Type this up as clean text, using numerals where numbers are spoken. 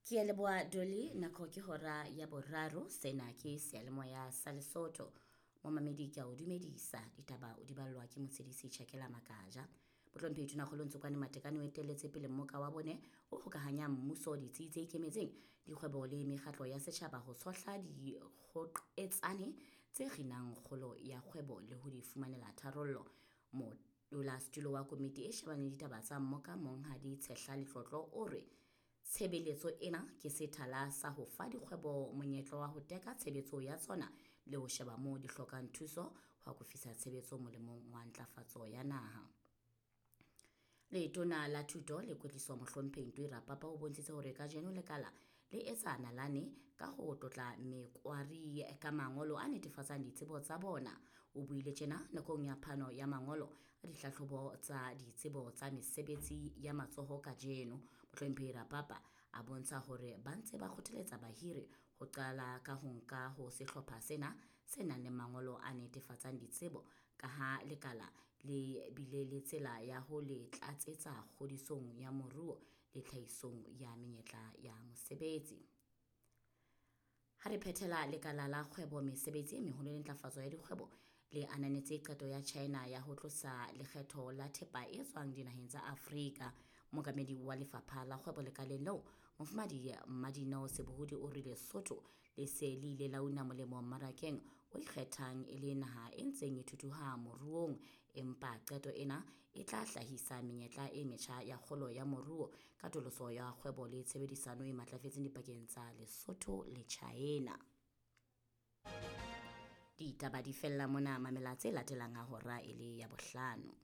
Ke a leboha Dolly, nako ke hora ya boraro, sena ke seyalemoya sa Lesotho. Momamedi ke a o dumedisa, ditaba o di ballwa ke motshedisi Tjhakela Makaja. Mohlomphehi Tonakgolo Ntsokwane Matekane o etelletse pele mmoka wa bone o hokahanyang mmuso, ditsi tse ikemetseng, dikgwebo le mekgatlo ya setjhaba ho tshohla dikgoqetsane tse kginang kgolo ya kgwebo le ho di fumanela tharollo. Modulasetulo wa komiti e shebaneng le ditaba tsa mmoka Monghadi Tshehla Letlotlo o re tshebeletso ena ke sethala sa ho fa dikgwebo monyetla wa ho teka tshebetso ya tsona le ho sheba moo di hlokang thuso ho akofisa tshebetso molemong wa ntlafatso ya naha. Letona la Thuto le Kwetliso Mohlomphehi Ntoi Rapapa o bontshitse hore kajeno lekala le etsa nalane ka ho tlotla mekwari ka mangolo a netefatsang ditsebo tsa bona. O buile tjena nakong ya phano ya mangolo a dihlahlobo tsa ditsebo tsa mesebetsi ya matsoho kajeno. Mohlomphehi Rapapa a bontsha hore ba ntse ba kgothaletsa bahiri ho qala ka ho nka ho sehlopha sena se nang le mangolo a netefatsang ditsebo ka ha lekala le bile le tsela ya ho le tlatsetsa kgodisong ya moruo le tlhahisong ya menyetla ya mosebetsi. Ha re phethela lekala la kgwebo mesebetsi e meholo le ntlafatso ya dikgwebo le ananetse qeto ya China ya ho tlosa lekgetho la thepa e tswang dinaheng tsa Afrika. Mookamedi wa lefapha la kgwebo lekaleng leo, Mofumahadi Mmadineo Sebohodi o re Lesotho le se le ile la una molemo mmarakeng o ikgethang e le naha e ntseng e thuthuha moruong, empa qeto ena e tla hlahisa menyetla e metjha ya kgolo ya moruo, katoloso ya kgwebo le tshebedisano e matlafetseng dipakeng tsa Lesotho le China. Ditaba di fella mona, mamela tse latelang ha hora e le ya bohlano.